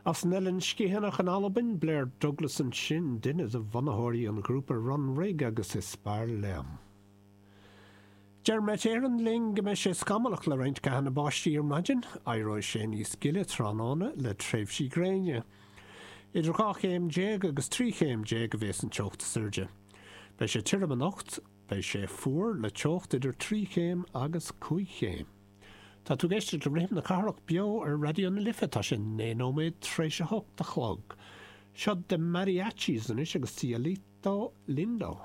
As an Eilean Sgitheanach in Albain, Blair Douglas ansin, duine de bhunaitheoirí an ghrúpa Runrig agus Is Fearr Liom. Deir Met Éireann linn go mbeidh sé scamallach le roinnt gathanna báistí ar maidin. Éireoidh sé níos gile tráthnóna le tréimhsí gréine. Idir 12 chéim agus 13 chéim a bheas an teocht is airde. Beidh sé tirim anocht, beidh sé fuar le teocht idir 3 chéim agus 5 chéim. Tá tú ag éisteacht le Rithim na Cathrach beo ar Raidió na Life. Tá sé 9 nóiméad tar éis a 8 a chlog. Seo The Mariachis anois agus Cielito Lindo.